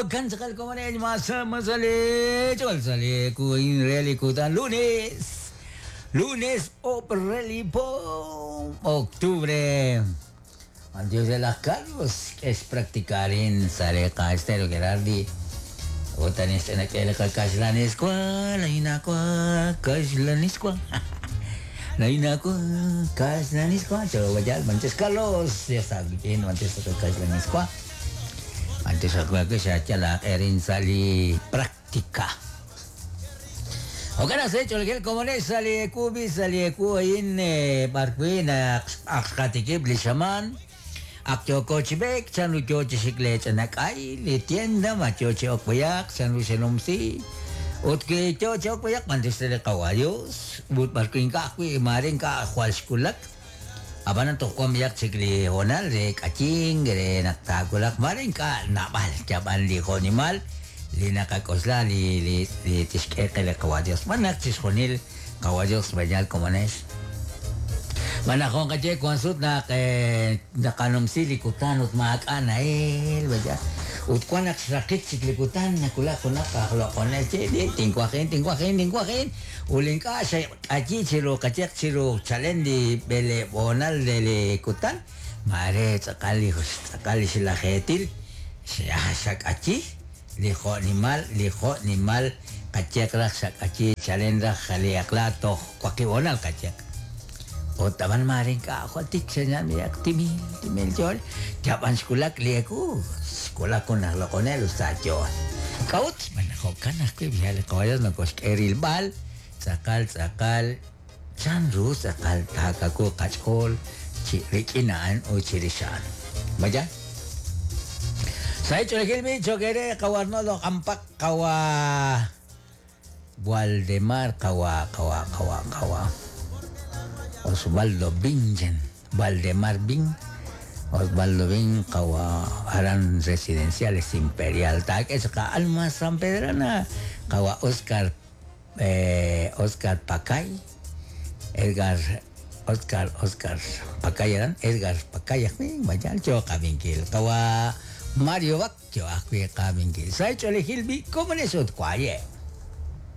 Jo'kan tz'aqal komonel masale chol sale kuin reli kutan lunes. Lunes opreli po octubre. Antes de las Carlos es practicar en Sareca Estero Gerardi. Otanis en aquel Caxlaniscua, la inacua, Caxlaniscua. La inacua, Caxlaniscua. Yo voy al Manches Carlos, ya está bien, Manches Caxlaniscua. Antes ako siya la erin sali práctica. Oka na sa cholgel komones sali kubi sali ku ayin barkwin akkatikib li shaman. Ak yoko chibek chan ru yo chikle chanakay li tienda ma yo okpayak chan ru senumsi. Ut ki yo okpayak mantis le kawayos. But barkwin ka akwi marin ka akwal skulak. Abanan to kwam yak chikli honal re kaching re naktakulak marin ka nabal chaban li honimal li nakakosla li li li tishkeke le kawadios manak chisjonil kawadios banyal komones manakon kache kwansut na nakanumsi likutan ut maaka na el baya ut kwanak sakit siklikutan nakula kunak kaklokones chi tinkwakin tinkwakin tinkwakin ulin ka siya kachi chiro kachek chiro chalen di bele bonal de likutan mare tsakali tsakali sila hetil siya sakachi lijo nimal kachek rak sakachi chalen rak jali akla to kwakibonal kachek Otaban maring ka ako tik sa niya timil timil jol japan skulak lieku sekolah ko na lokonel sa jol kaut manako kanak ko bihal kawayan no kos eril bal sakal sakal chanru sakal takako kachkol chi rikinaan o chirishan Maja Sa hecho el bicho kere kawarnolo kampak kawa Waldemar kawa kawa kawa kawa Osvaldo Bingen, Valdemar Bin, Osvaldo Bin, kawa aran residenciales Imperial, tak es ka Alma San Pedrana, kawa Oscar Oscar Pacay, Edgar Oscar Oscar Pacay eran Edgar Pacay, vaya yo kabinkil, kawa Mario Bak, yo akwi kabinkil. Sa hecho el Gilbi, ¿cómo le sot cuaye?